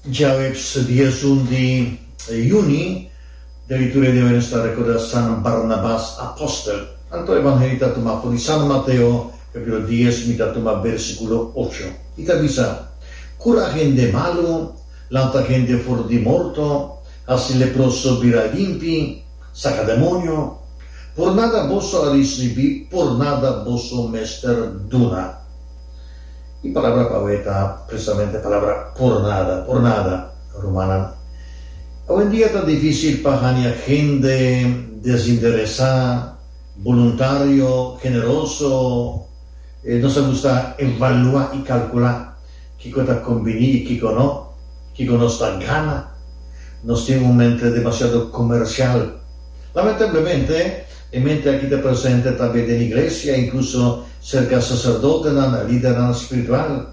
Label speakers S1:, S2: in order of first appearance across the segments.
S1: Djaweps 11 di juni, den liturgia di awe nos ta recorda San Barnabas Apostel. Anto Evangelio ta tuma for di San Mateo capitulo dies mi ta tuma versiculo ocho. I ta bisa, Cura hende malu, lanta hende for di morto, haci leproso bira limpi, saca demonio. Por nada boso a ricibi, por nada boso mester duna. E palabra pa awe ta precisamente palabra por nada, por nada, rumannan. Awendia ta dificil pa haña hende desinteresá, boluntario, generoso. Nos ta gusta evaluá i calculá kico ta combiní i kico no, kico nos ta gana. Nos tin un mente demasiado comercial. Lamentablemente, E mente aki ta presente tambe den iglesia, inkluso serka saserdotenan, lidernan spiritual.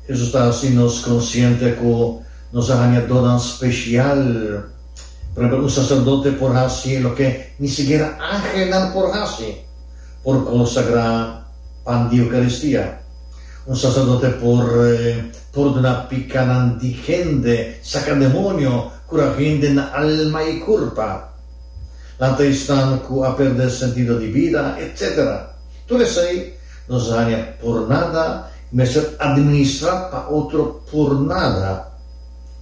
S1: Hesus ta hasi nos konsiente ku nos a haña donnan spesial. Por ehempel, un saserdote por hasi loke ni sikiera angelnan por hasi, por konsagrá pan di Eukaristia. Un saserdote por pordoná pikanan di hende, saka demonio, kura hende na alma i kurpa. Lanta esnan ku a pèrdè sentido di bida, etc. Tur esei nos a haña por nada i mester administrá pa otro por nada.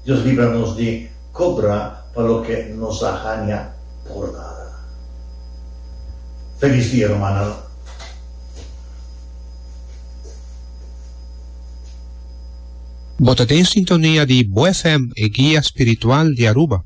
S1: Dios libra nos di kobra pa loke nos a haña por nada. Felis dia, rumannan.
S2: Bo ta den sintonia di Bo FM, e guia spiritual di Aruba.